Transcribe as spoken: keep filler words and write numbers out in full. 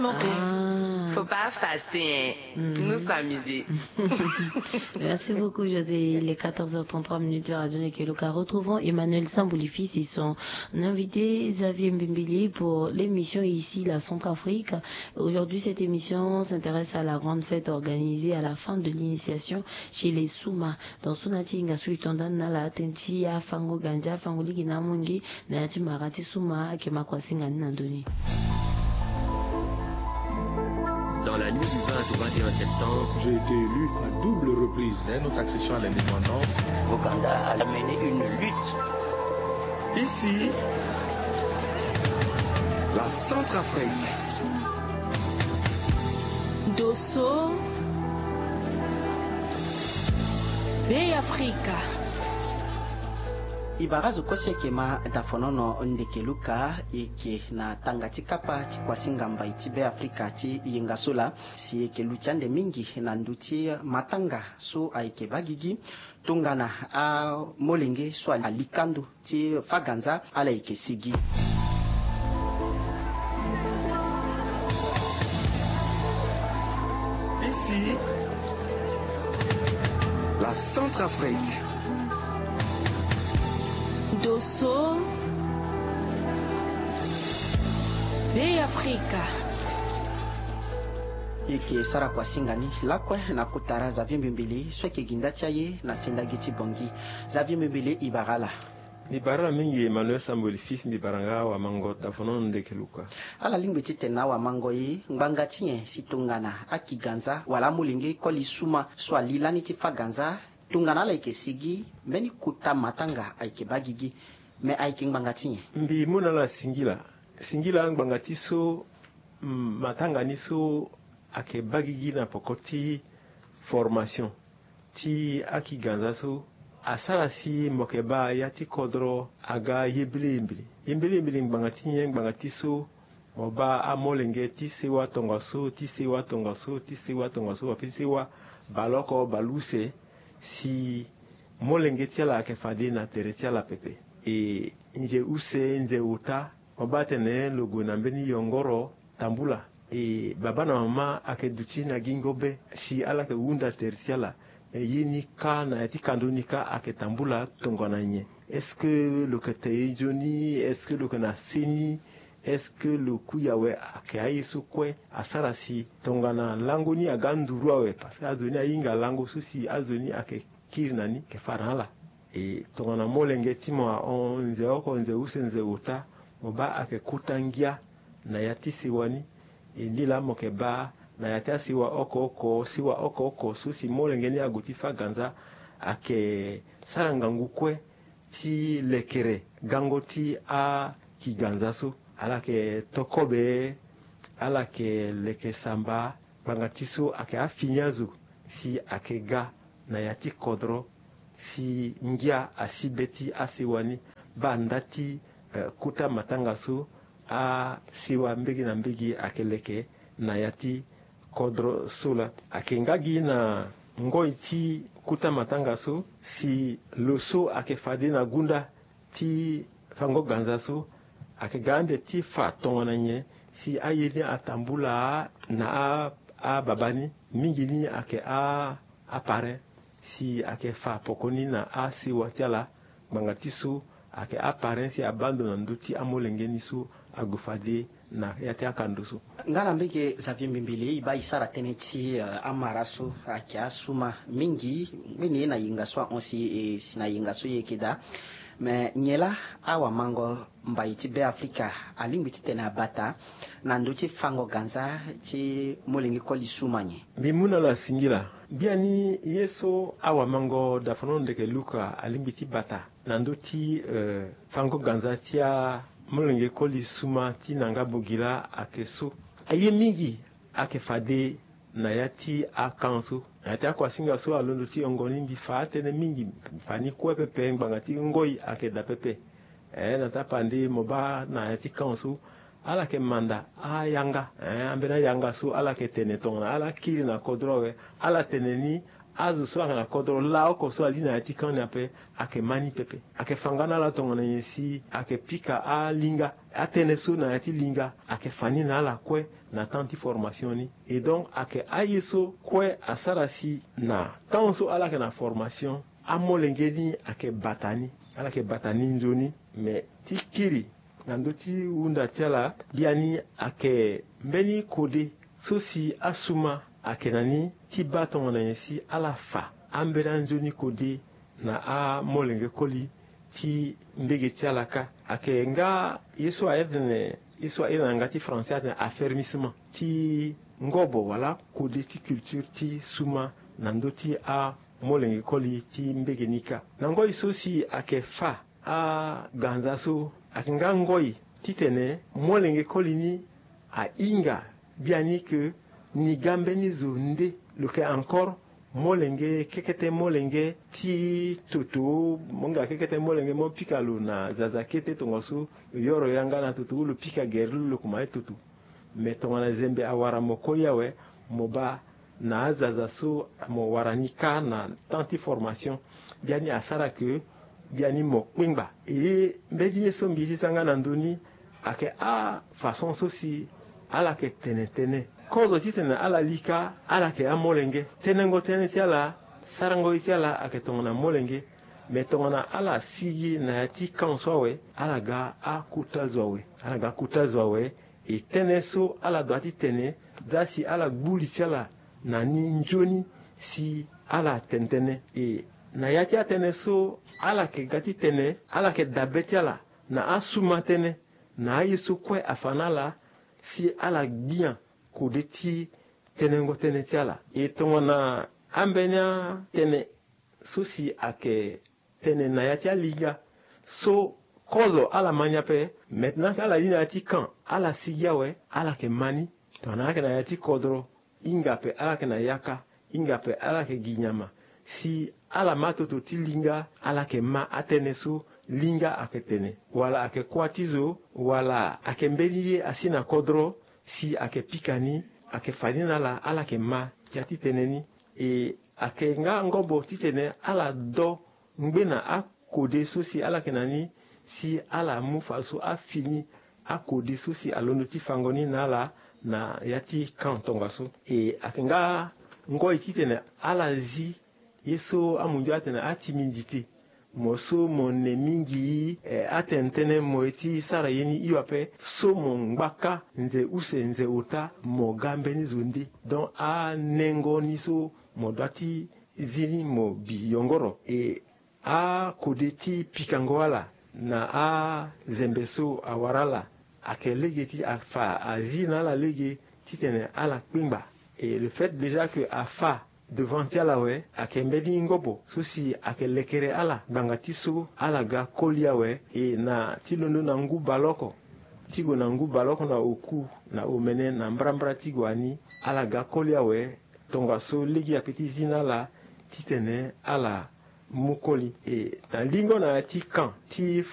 Ah. Faut pas effacer, hein. Mhm. Nous s'amuser. Merci beaucoup, José. Il est quatorze heures trente-trois minutes sur Radio Nekeluka. Retrouvons Emmanuel Samboulifis et son invité Xavier Mbimbili pour l'émission Ici la Centrafrique. Aujourd'hui, cette émission s'intéresse à la grande fête organisée à la fin de l'initiation chez les Souma. Dans son ati nga sui tonda na la tenti ya fango ganja, fango ligi na mongi, na ya ti mara ti Souma, ake ma kua singa ni na ndoni. Dans la nuit du vingt au vingt et un septembre, j'ai été élu à double reprise. Dès notre accession à l'indépendance, Ouganda a mené une lutte. Ici, la Centrafrique. Dosso, Bêafrika. E bara zo kue so eke ma dafonono ndeke luka, eke na tanga ti kapa ti kuasinga mbai ti Bêafrika ti yenga so laa, si eke luti ande mingi na ndö ti matanga so ayeke baa gigi tongana amolenge so ali kando ti fâ ganza ala yeke sigi. Ici, la Centrafrique. Dosso, Bêafrika. E yeke sara kuasinga ni lakue na kota Xavier Mbimbili so ayeke gi nda ti aye na sendagi ti Bangui. Xavier Mbimbili, e bara ala. Mbi bara ala mingi Emmanuel Samboulifis, mbi bara nga awamango dafonono ndeke luka. Ala lingbi titene awamango e ngbanga ti nyen si tongana aki ganza wala amolenge koli suma so ali lani ti fâ ganza, tongana ala yeke sigi, mbeni kota matanga ayeke baa gigi, me ayeke ngbanga ti nyen? Mbi mu na ala singila. Singila ngbanga ti so, mm, matanga ni so ayeke baa gigi na poko ti formation ti aki ganza so, asara si mo yeke baa ya ti kodro aga yembele yembele. Yembele yembele ngbanga ti nyen? Ngbanga ti so mo baa amolenge ti sewa tongaso, ti sewa tongaso, ti sewa tongaso, wala pe ti sewa baleoko baleuse, si molenge ti ala ayeke fade na tere ti ala pepe. E nze use, nze ota, mo baa tene lo gue na mbeni yongoro tambula. E babâ na mama ayeke duti na gingo be si ala yeke hunda tere ti ala. E ye ni kâ na ya ti kando ni kâ ayeke tambula tongana nyen? Est-ce que lo yeke te ye nzoni? Est-ce que lo yeke na seni? Est-ce que lo kui awe? Ayeke aye so kue asara si tongana lango ni aga nduru awe, parce que azo ni ahinga lango so si azo ni ayeke kiri na ni, ayeke fâ na ala. E tongana molenge ti mo ahon nze oko, nze use, nze ota, mo baa ayeke kota ngia na ya ti sewa ni. E nde laa mo yeke baa na ya ti asewa oko oko, sewa oko oko so si molenge ni ague ti fâ ganza, ayeke sara ngangu kue ti lekere gango ti aki ganza so. Ala yeke to kobe, ala yeke leke samba, ngbanga ti so ayeke afini azo si ayeke ga na ya ti kodro, si ngia asi be ti asewa ni. Baa nda ti, eh, kota matanga so, asewa mbege na mbege ayeke leke na ya ti kodro so laa. Ayeke nga gi na ngoi ti kota matanga so, si lo so ayeke fade na gunda ti fango ganza so, ayeke ga ande ti fa tongana nyen si aye ni atambula na a, ababâ ni, mingi ni ayeke a, aparent, si ayeke fa poko ni na asewa ti ala, ngbanga ti so ayeke aparent si abâ ndo na ndö ti amolenge ni so ague fade na ya ti akando so. Nga na mbege Xavier Mbimbili, e baa e sara tënë ti, eh, amara so ayeke asuma mingi, mbeni ye na yenga so ahon si, eh, si na yenga so e yeke daa. Me nyen laa awamango mbai ti Bêafrika alingbi titene abata na ndö ti fango ganza ti molenge koli suma nyen? Mbi mu na ala singila. Biani ye so awamango dafonono ndeke luka alingbi ti bata na ndö ti, eh, fango ganza ti amolenge koli suma ti na nga bogila ayeke so. Aye mingi ayeke fade na ya ti akan so. Na ya ti akuasinga so alondo ti yongo ni, mbi fa atënë mingi, mbi fa ni kue pepe, ngbanga ti ngoi ayeke daa pepe. Eh, na tapande mo baa na ya ti kan so, ala yeke manda ayanga, eh, ambeni ayanga so ala yeke tene tongana ala kiri na kodro awe, ala tene ni Azo so ayeke na kodro laoko so ali na ya ti kan ni ape, ayeke ma ni pepe. Ayeke fa nga na ala tongana nyen si ayeke pika alinga, atënë so na ya ti linga ayeke fa ni na ala kue na temps ti formation ni. Et donc ayeke aye so kue asara si na temps so ala yeke na formation, amolenge ni ayeke bata ni, ala yeke bata ni nzoni. Me ti kiri na ndö ti hunda ti ala, biani ayeke mbeni kode so si asuma ayeke na ni ti baa tongana nyen si ala fa ambeni anzoni kode na amolenge koli ti mbege ti ala kâ. Ayeke nga ye so airi tene, ye so airi na yanga ti français atene affermissement ti ngobo wala kode ti culture ti suma na ndö ti amolenge koli ti mbege ni kâ. Na ngoi so si ayeke fa aganza so, ayeke nga ngoi titene molenge koli ni ahinga biani ke ni ga mbeni zo nde lo yeke encore molenge, kekete molenge ti toto, mo hinga kekete molenge mo pika lo na zaza kete tongaso lo yoro yanga na toto ou lo pika gere lo lo kuma ye toto. Me tongana zembe awara mo koli awe, mo baa na azaza so mo wara ni kâ na temps ti formation, biani asara ke biani mo kpengba. E mbeni ye so mbi ye ti za nga na ndö ni, ayeke afaçon so si ala yeke tene tënë. Kozo titene ala li kâ, ala yeke amolenge. Tënëngo tënë ti ala, sarango ye ti ala ayeke tongana molenge. Me tongana ala sigi na ya ti kan so awe, ala ga akota zo awe. Ala ga akota zo awe. E tënë so ala dua ti tene, za si ala gbu li ti ala na ni nzoni si ala tene tënë. E na ya ti atënë so ala yeke ga ti tene, ala yeke dabe ti ala na asuma tënë, na aye so kue afa na ala, si ala gbia kode ti tënëngo tënë ti ala. E tongana ambeni atënë so si ayeke tene na ya ti alinga so kozo ala ma ni ape. Maintenant ke ala li na ya ti kan, ala sigi awe, ala yeke ma ni. Tongana ala yeke na ya ti kodro, hinga ape ala yeke na yaka, hinga ape ala yeke gi nyama. Si ala ma toto ti linga, ala yeke ma atënë so linga ayeke tene, wala ayeke kuâ ti zo, wala ayeke mbeni ye asi na kodro, si ayeke pika ni, ayeke fa ni na ala, ala yeke ma ya ti tënë ni. E ayeke nga ngobo titene ala do ngbena akode so si ala yeke na ni, si ala mu fadeso afini akode so si alondo ti fango ni na ala na ya ti kan tongaso. E ayeke nga ngoi titene ala zi ye so amundio atene atimidité. Mo so mo ne mingi, eh, atene tënë mo ye ti sara ye ni hio ape. So mo ngba kâ nze use nze ota, mo ga mbeni zo nde. Donc anengo ni so mo dua ti zi ni mo bi yongoro. E akode ti pikango ala na azembe so awara ala, ayeke lege ti afa azi na ala lege titene ala kpengba. E le fait déjà que afa devant ti ala awe, ayeke mbeni ngobo so si ayeke lekere ala ngbanga ti so ala ga koli awe. E na ti londo na ngu baleoko ti gue na ngu baleoko na oku na omene na mbrambra ti gue ani, ala ga koli awe. Tongaso lege ape ti zi na ala titene ala mu koli. E na lingo na ya ti kan ti